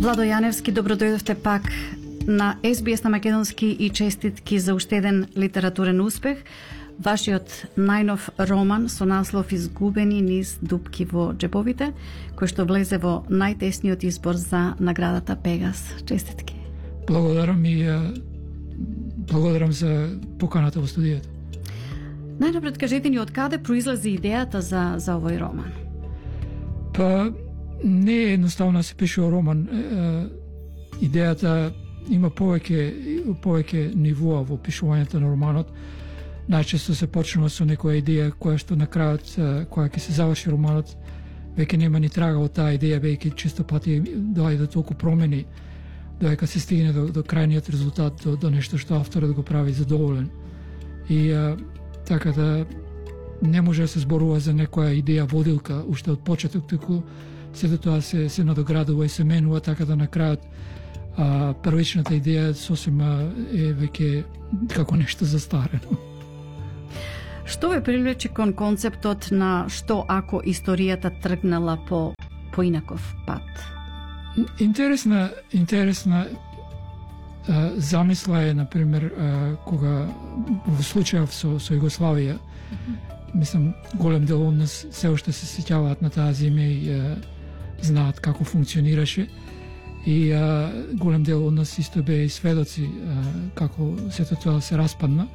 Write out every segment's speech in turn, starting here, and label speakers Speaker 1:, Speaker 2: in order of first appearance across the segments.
Speaker 1: Владо Јаневски, добродојдовте пак на SBS на македонски и честитки за уште еден литературен успех. Вашиот најнов роман со наслов Изгубени низ дупки во џебовите, кој што влезе во најтесниот избор за наградата Пегас. Честитки.
Speaker 2: Благодарам и благодарам за поканата во студијата.
Speaker 1: Најнапред кажете ни од каде произлезе идејата за овој роман?
Speaker 2: Па не е едноставно да се пишува роман. Идејата има повеќе нивоа во пишувањето на романот. Најчесто се почнува со некоја идеја која што на крајот, која ќе се заврши романот, веќе нема ни трага од таа идеја, веќе често пати доаѓа до толку промени, додека се стигне до крајниот резултат, до нешто што авторот го прави задоволен. И така да не може да се зборува за некоја идеја водилка уште од почеток, туку сето тоа се надоградува и се менува, така да на крајот првичната идеја сосем е веќе како нешто застарено.
Speaker 1: Што ве привлече кон концептот на што ако историјата тргнала по инаков пат?
Speaker 2: Интересна замисла е, например, кога во случајов со Југославија, мислам, голем дел од нас се уште се сеќаваат на таа земја и знаат како функционираше. И голем дел од нас исто беа и сведоци како сето тоа се распадна.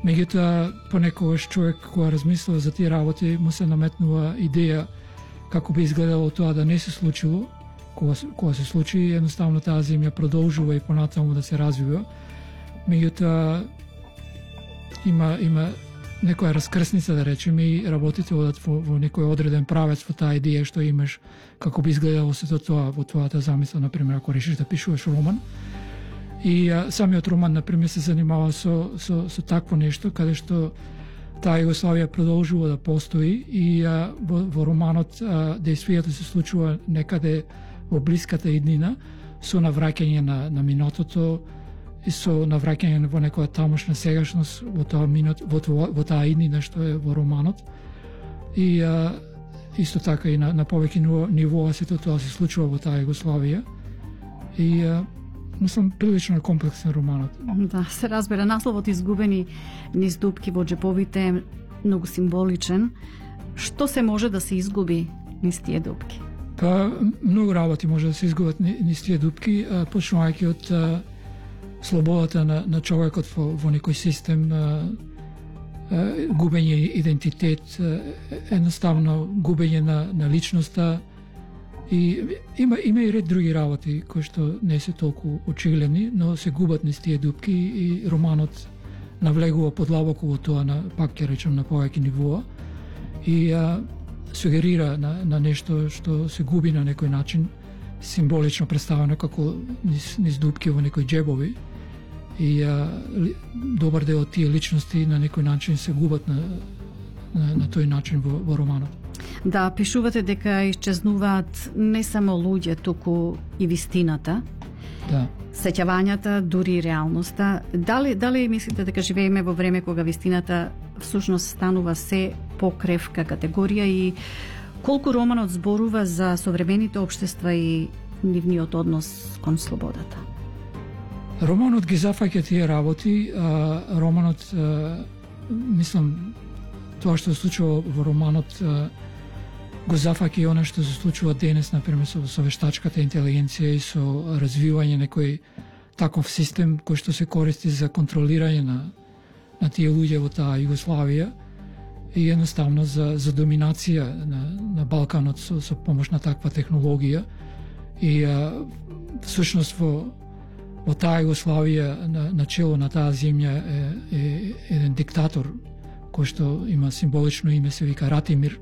Speaker 2: Меѓутоа, понекогаш човек кога размислува за тие работи, му се наметнува идеја како би изгледало тоа да не се случило. Кога се случи, едноставно таа земја продолжува и понатаму да се развива. Меѓутоа, има некоја раскрсница, да речеме, и работите одат во некој одреден правец во таа идеја што имаш како би изгледало сето тоа во твојата замисла, например, ако решиш да пишуваш роман. И самиот роман, например, се занимава со такво нешто, каде што таа Југославија продолжува да постои и во романот дејствието се случува некаде во блиската иднина, со навраќање на минатото и со навраќање во некоја тамошна сегашност во таа иднина што е во романот. И исто така и на повеќе нивоа сето тоа се случува во таа Југославија. И мислам, прилично комплексен романот.
Speaker 1: Да, се разбира. Насловот Изгубени низ дупки во џебовите е многу символичен. Што се може да се изгуби низ тие дупки?
Speaker 2: Па, многу работи може да се изгубат низ тие дупки, почнувајќи од слободата на човекот во некој систем, губење идентитет, едноставно губење на личноста. И има и ред други работи кои што не се толку очигледни, но се губат низ тие дупки и романот навлегува подлабоко во тоа, пак ќе речем, на повеќе нивоа и сугерира на нешто што се губи на некој начин, символично представено како низ дупки во некои џебови. И добар дел од тие личности на некој начин се губат на тој начин во романот.
Speaker 1: Да, пишувате дека исчезнуваат не само луѓе, туку и вистината,
Speaker 2: да,
Speaker 1: сеќавањата, дури и реалноста. Дали мислите дека живееме во време кога вистината всушност станува се покревка категорија и колку романот зборува за современите општества и нивниот однос кон слободата?
Speaker 2: Романот ги зафаќа тие работи. Романот, мислам, тоа што се случува во романот го зафаќа и она што се случува денес, например, со вештачката интелигенција и со развивање некој таков систем кој што се користи за контролирање на тие луѓе во таа Југославија и едноставно за доминација на Балканот со помош на таква технологија. И всушност во таа Југославија на чело на таа земја е еден диктатор кој што има символично име, се вика Ратимир.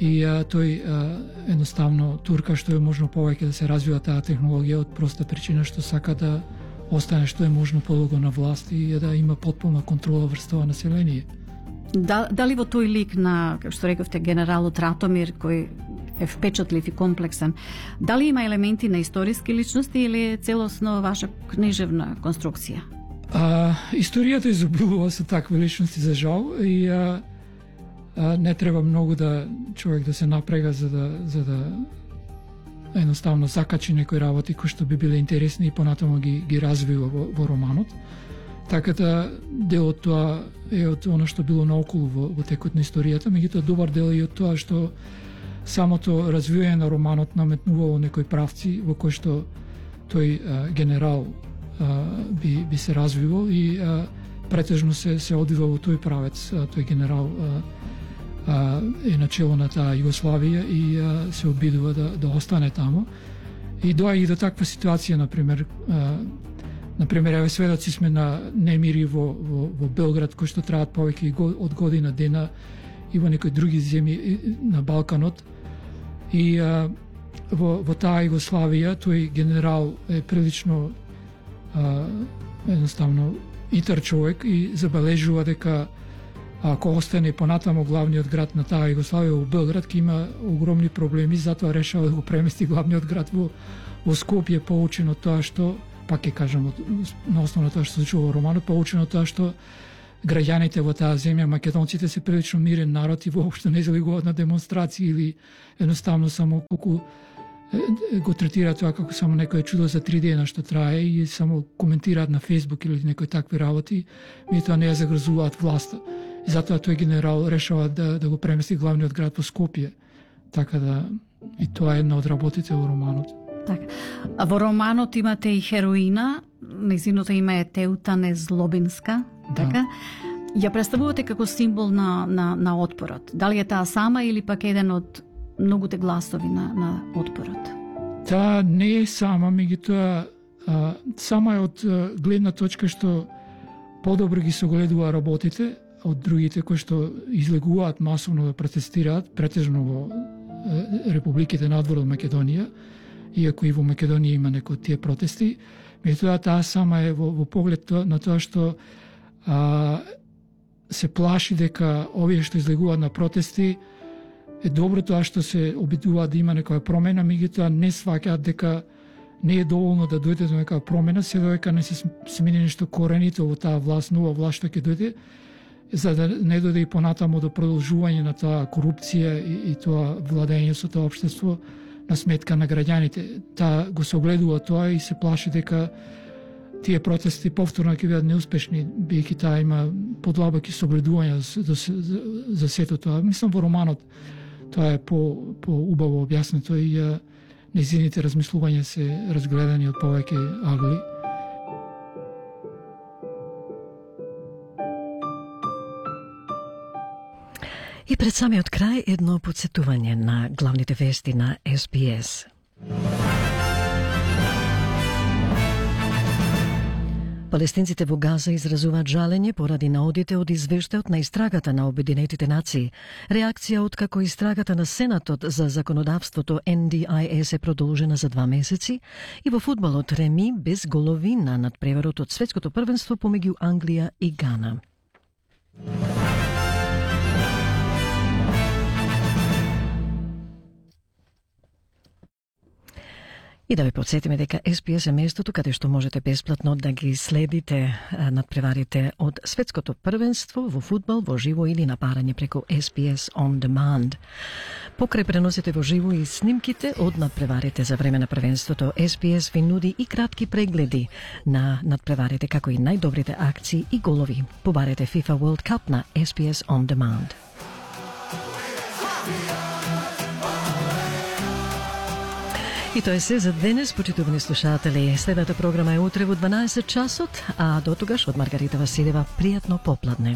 Speaker 2: И тој едноставно турка што е можно повеќе да се развива таа технологија од проста причина што сака да остане што е можно подолго на власт и да има потполна контрола врз тоа население.
Speaker 1: Дали во тој лик на, како што рековте, генералот Ратомир, кој е впечатлив и комплексен, дали има елементи на историски личности или е целосно ваша книжевна конструкција?
Speaker 2: Историјата изобилува со такви личности, за жал, и не треба многу да човек да се напрега за да едноставно закачи некои работи кои што би биле интересни и понатаму ги развива во романот. Така да дел од тоа е од оно што било наоколу во текот на историјата, меѓутоа добар дел е од тоа што самото развивање на романот наметнувало некои правци во кои што тој генерал би се развивал и претежно се одвива во тој правец. Тој генерал е начело на таа Југославија и се обидува да остане тамо. И доаѓа и до таква ситуација, например, еве сведоци сме на немири во Белград кои што траат повеќе од година дена и во некои други земји на Балканот. И во таа Југославија тој генерал е прилично едноставно итар човек и забележува дека ако остане понатамо главниот град на таа Југославија во Белград, ќе има огромни проблеми, затоа решава да го премести главниот град во Скопје, поучено тоа што, пак ќе кажам, на основа на тоа што се случува во романот, поучено тоа што граѓаните во таа земја, македонците се прилично мирен народ и воопшто не излегуваат на демонстрации или едноставно само колку го третираат тоа како само некое чудо за 3 дена што трае и само коментираат на Facebook или некои такви работи, меѓутоа не ја загрозуваат власта. И затоа тој генерал решава да го премести главниот град во Скопје. Така да и тоа е една од работите во романот.
Speaker 1: Така. А во романот имате и хероина, нејзиното име е Теутане Злобинска, така? Ја представувате како символ на отпорот. Дали е таа сама или пак еден од многуте гласови на отпорот?
Speaker 2: Таа не е сама, меѓутоа сама е од гледна точка што подобро ги согледува работите од другите кои што излегуваат масовно да протестираат, претежно во републиките надвор од Македонија, иако и во Македонија има некои тие протести, меѓутоа таа сама е во поглед на тоа што се плаши дека овие што излегуваат на протести е добро тоа што се обидуваат да има некоја промена, меѓутоа не сваќаат дека не е доволно да дојде до некоја промена, се додека не се смени нешто коренито во таа власт, нова власт што ќе дојде, за да не дојде и понатамо до продолжување на таа корупција и тоа владење со тоа општество на сметка на граѓаните. Таа го согледува тоа и се плаши дека тие протести повторно ќе бидат неуспешни, бидејќи таа има подлабоки согледувања за сето тоа. Мислам во романот тоа е по-убаво објаснето и нејзините размислувања се разгледани од повеќе агли.
Speaker 3: И пред самиот крај едно подсетување на главните вести на SBS. Палестинците во Газа изразуваат жалење поради наодите од извештајот на истрагата на Обединетите нации. Реакција од како истрагата на Сенатот за законодавството NDIS е продолжена за 2 месеци и во фудбалот реми без голови на надпреварот од светското првенство помеѓу Англија и Гана. И да ви подсетиме дека SBS е местото каде што можете бесплатно да ги следите надпреварите од светското првенство во фудбал во живо или на барање преку SBS On Demand. Покрај преносите во живо и снимките од надпреварите за време на првенството, SBS ви нуди и кратки прегледи на надпреварите како и најдобрите акции и голови. Побарете FIFA World Cup на SBS On Demand. И тоа е се за денес, почитувани слушатели. Следната програма е утре во 12 часот, а до тогаш од Маргарита Василева пријатно попладне.